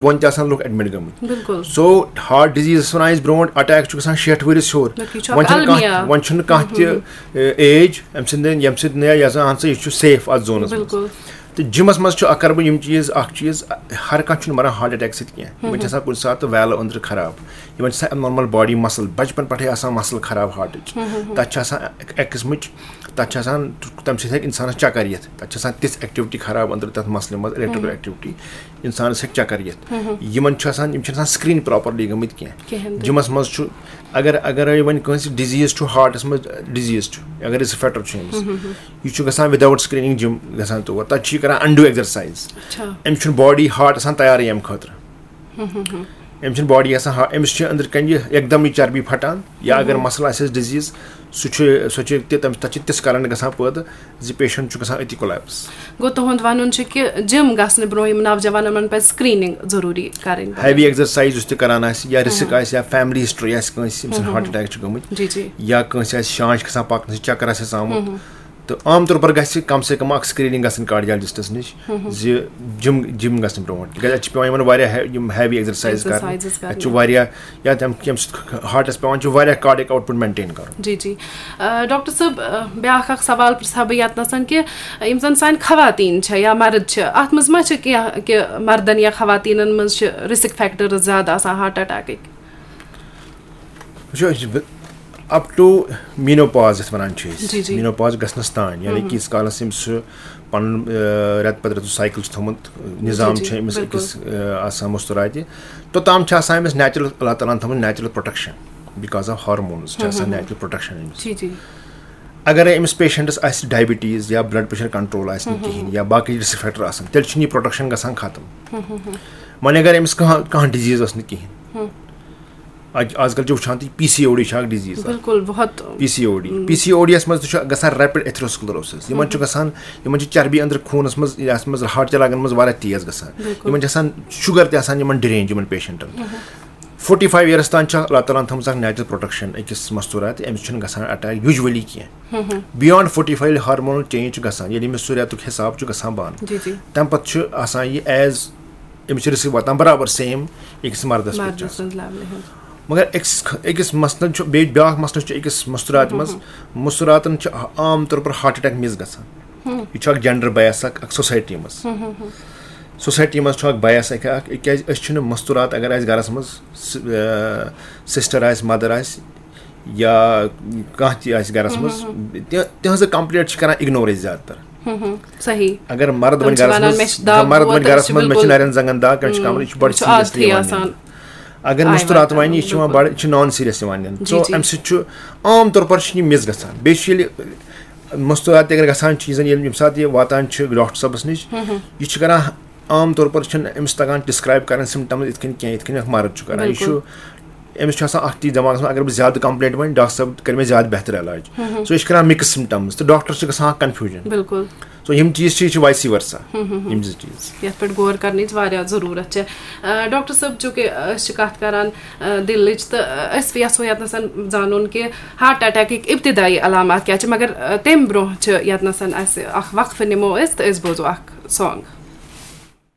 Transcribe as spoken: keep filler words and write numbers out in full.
بۄن تہِ آسان لُکھ ایڈمٹ گٔمٕتۍ۔ بِلکُل۔ سو ہارٹ ڈِزیٖز ٲسۍ وَنان أسۍ برونٛٹھ، اٹیک چھُ گژھان شیٹھ ؤرِس ہیوٚر۔ بلکہِ یہِ چھُ وۄنۍ اکھ چھُنہٕ کانٛہہ المیہ۔ وۄنۍ چھُنہٕ کانٛہہ تہِ ایج اَمہِ سۭتۍ اَمہِ سۭتۍ نہٕ یہِ زن اہن سا یہِ چھُ سیف اَتھ زونَس منٛز۔ بِلکُل۔ تہٕ جِمَس منٛز چھُ اَکھ کَرٕ بہٕ یِم چیٖز، اَکھ چیٖز، ہر کانٛہہ چھُنہٕ مَران ہارٹ اٹیک سۭتۍ کینٛہہ۔ یِمَن چھِ آسان کُنہِ ساتہٕ ویلو أنٛدرٕ خراب، یِمَن چھِ آسان ابنارمل باڈی مسل بچپن پٮ۪ٹھَے آسان مسل خراب ہارٹٕچ۔ تَتھ چھِ آسان اَکہِ قٕسمٕچ، تَتھ چھِ آسان، تَمہِ سۭتۍ ہیٚکہِ اِنسانَس چکر یِتھ۔ تَتھ چھِ آسان تِژھ ایکٹیوٹی خراب أنٛدرٕ تَتھ مسلہِ منٛز، الیکٹریکل ایکٹیوٹی، اِنسانَس ہیٚکہِ چکر یِتھ۔ یِمَن چھُ آسان، یِم چھِنہٕ آسان سکرین پراپرلی گٔمٕتۍ کینٛہہ۔ کِہیٖنۍ تہِ۔ جِمَس منٛز چھُ، اگر اگر وۄنۍ کٲنٛسہِ ڈِزیٖز چھُ ہارٹَس منٛز، ڈِزیٖز چھُ، اگر رِسک فیکٹر چھُ أمِس، یہِ چھُ گژھان without screening جِم گژھان تور، تَتہِ چھُ یہِ کران اَنڈو ایکزرسایز۔ اچھا۔ أمِس چھُنہٕ باڈی ہارٹَس آسان تیارٕے اَمہِ خٲطرٕ۔ أمِس چھُنہٕ باڈی آسان ہا-، أمِس چھِ أنٛدرٕ کَنہِ یہِ یکدم یہِ چربی پھٹان، یا اگر مسل آسٮ۪س ڈِزیٖز، سُہ چھُ سُہ چھُ تہِ تَمہِ تَتہِ چھِ تِژھ کرنٹ گژھان پٲدٕ زِ پیشنٹ چھُ گژھان أتی کولیپس۔ گوٚو، تُہُنٛد وَنُن چھُ کہِ جِم گژھنہٕ برونٛہہ یِم نوجوان، یِمَن پَزِ سکریننگ ضروٗری کَرٕنۍ۔ ہیوی ایکزرسایز یُس تہِ کران آسہِ، یا رِسک آسہِ، یا فیملی ہسٹری آسہِ کٲنٛسہِ ییٚمِس ہارٹ اٹیک چھُ گٔمٕتۍ، جی جی۔ یا کٲنٛسہِ آسہِ شانش کھسان پَکنہٕ سۭتۍ چکر آسٮ۪س آمُت، تہٕ عام طور پر گژھِ کم سے کم اکھ سکریننگ گژھٕنۍ کارڈیالجسٹس نِش زِ جِم جِم گژھنہٕ برونٛٹھ، تِکیازِ اَتہِ چھِ پٮ۪وان یِمن واریاہ ہے-، یِم ہیوی ایکزرسایز کرنہِ۔ ایکزرسایزز اَتہِ چھُ کرنہِ۔ واریاہ، یا تَمہِ ییٚمہِ سۭتۍ ہارٹس پٮ۪وان چھُ واریاہ کارڈیک آوُٹ پُٹ مینٹین کرُن۔ جی جی۔ آ، ڈاکٹر صٲب، آ، بیٛاکھ اکھ سوال پرٛژھٕ ہا بہٕ ییٚتنَس کہِ یِم زَن سانہِ خواتین چھےٚ یا مرد چھِ، اَتھ منٛز ما چھِ کینٛہہ کہِ مردن یا خواتیٖنَن منٛز چھِ رِسک فیکٹرز زیادٕ آسان ہارٹ اٹیکٕکۍ؟ وٕچھو، أسۍ چھِ اپ ٹو مینوپاز یَتھ وَنان چھِ أسۍ، جی، جی۔ مینوپاز گژھنَس تام، یعنی کہِ ییٖتِس کالَس أمۍ سُہ پَنُن، آ، رٮ۪تہٕ پَتہٕ رٮ۪تہٕ سُہ سایکل چھُ تھوٚمُت، نظام جی، چھُ أمِس بِلکُل۔ أکِس، آ، آسان مُستُراتہِ، توٚتام چھِ آسان أمِس نیچرل، اللہ تعالیٰ ہَن تھٲومٕژ natural protection because of hormones چھِ آسان نیچرل پروٹیکشن أمِس۔ جی جی۔ اگرے أمِس پیشنٹس آسہِ ڈائبٹیز یا بلڈ پریشر کنٹرول آسہِ نہٕ کِہیٖنۍ یا باقٕے رسک فیکٹر آسن، تیٚلہِ چھُنہٕ یہِ پروٹیکشن گژھان ختم۔ وۄنۍ اگر أمِس کانٛہہ کانٛہہ ڈِزیٖز ٲس نہٕ کِہیٖنۍ، آز آز کل چھِ وٕچھان تُہۍ پی سی او ڈی چھِ اکھ ڈِزیٖز۔ بِلکُل، بہت۔ P C O D P C O D یس منٛز تہِ چھُ گژھان ریپڈ ایتھروسکلروسس۔ یِمن چھُ گژھان، یِمن چھِ چربی أنٛدرٕ خوٗنس منٛز، یتھ منٛز ہارٹ چلاگن منٛز واریاہ تیز گژھان۔ یِمن چھِ آسان شُگر تہِ آسان یِمن ڈرینج یِمن پیشنٹن۔ فورٹی فایو یئرس تام چھِ اللہ تعالیٰ ہن تھٲومٕژ اکھ نیچرل پروٹیکشن أکِس مستورات، أمِس چھُنہٕ گژھان اٹیک یوٗجولی کینٛہہ۔ بیانڈ فورٹی فایو ییٚلہِ ہارمونل چینج چھُ گژھان، ییٚلہِ أمِس سُہ رٮ۪تُک حساب چھُ گژھان بنٛد، جی جی۔ تمہِ پتہٕ چھُ آسان یہِ ایز أمِس چھِ رسک واتان برابر سیم أکِس مردس پٮ۪ٹھ چھُ مردٕ آسان۔ سٕنٛز لیولہِ ہُنٛد۔ مگر أکِس أکِس مثلاً چھُ بیٚیہِ بیٛاکھ مسلہٕ چھُ أکِس مستوراتہِ منٛز، مستوراتن چھُ عام طور پر ہارٹ اٹیک مِس گژھان۔ یہِ چھُ اکھ جینڈر بایس اکھ اکھ سوسایٹی منٛز۔ سوسایٹی منٛز چھُ اکھ بایس اکھ اکھ، کیازِ أسۍ چھِنہٕ مستورات اگر آسہِ گرس منٛز، سسٹر آسہِ، مدر آسہِ، یا کانٛہہ تہِ آسہِ گرس منٛز، تہِ- تِہنٛزٕ کمپلینٹ چھِ کران اگنور أسۍ زیادٕ تر۔ صحیح۔ اگر مرد تِم وۄنۍ چھِ گرس وَنان، منٛز، مےٚ چھِ دگ مرد ووت، وۄنۍ تٔمِس گرس چھِ منٛز، مےٚ چھِ بِلکُل نرٮ۪ن زنٛگن دگ، مےٚ چھِ کمرٕ، یہِ چھُ بڑٕ یہِ چھُ seriously عادتھٕے یِوان آسان۔ نِنہٕ۔ اگر آے مستورات واتناوُن، ونہِ، یہِ چھُ یِوان بِلکُل۔ بڑٕ، یہِ چھُ نان سیریس یِوان نِنہٕ۔ جی، سو جی۔ امہِ سۭتۍ چھُ عام طور پر چھُنہٕ یہِ مِس گژھان۔ بیٚیہِ چھُ ییٚلہِ مستورات تہِ اگر گژھان چھِ، یہِ واتان چھِ ڈاکٹر صٲبس نِش، یہِ چھُ کران عام طور پر چھُنہٕ أمِس تگان ڈسکرائب کرٕنۍ سمپٹمز یِتھ کٔنۍ کینٛہہ، یِتھ کٔنۍ اکھ مرد چھُ کران۔ یہِ چھُ، بِلکُل۔ أمِس چھُ آسان اکھ چیٖز دٮ۪ماغس منٛز، اگر بہٕ زیادٕ کمپلینٹ ونہٕ، ڈاکٹر صٲب کرِ مےٚ زیادٕ بہتر علاج۔ سو یہِ چھُ کران مکس سمپٹمز تہٕ ڈاکٹرس چھُ گژھان اکھ کنفیوجن۔ بِلکُل۔ سو یِم چیٖز چھِ، یہِ چھِ وایسی ورسا۔ یِم زٕ چیٖز۔ یَتھ پٮ۪ٹھ غور کرنٕچ واریاہ ضروٗرت چھِ۔ آ، ڈاکٹر صٲب، چوٗنٛکہِ أسۍ چھِ کَتھ کران، آ، دِلٕچ، تہٕ أسۍ یَژھو ییٚتنَس زانُن کہِ ہارٹ اٹیکٕکۍ ابتدٲیی علامات کیٛاہ چھِ، مگر، آ، تَمہِ برونٛہہ چھِ ییٚتنَس اَسہِ اکھ وقفہٕ نِمو أسۍ تہٕ أسۍ بوزو اکھ سانگ۔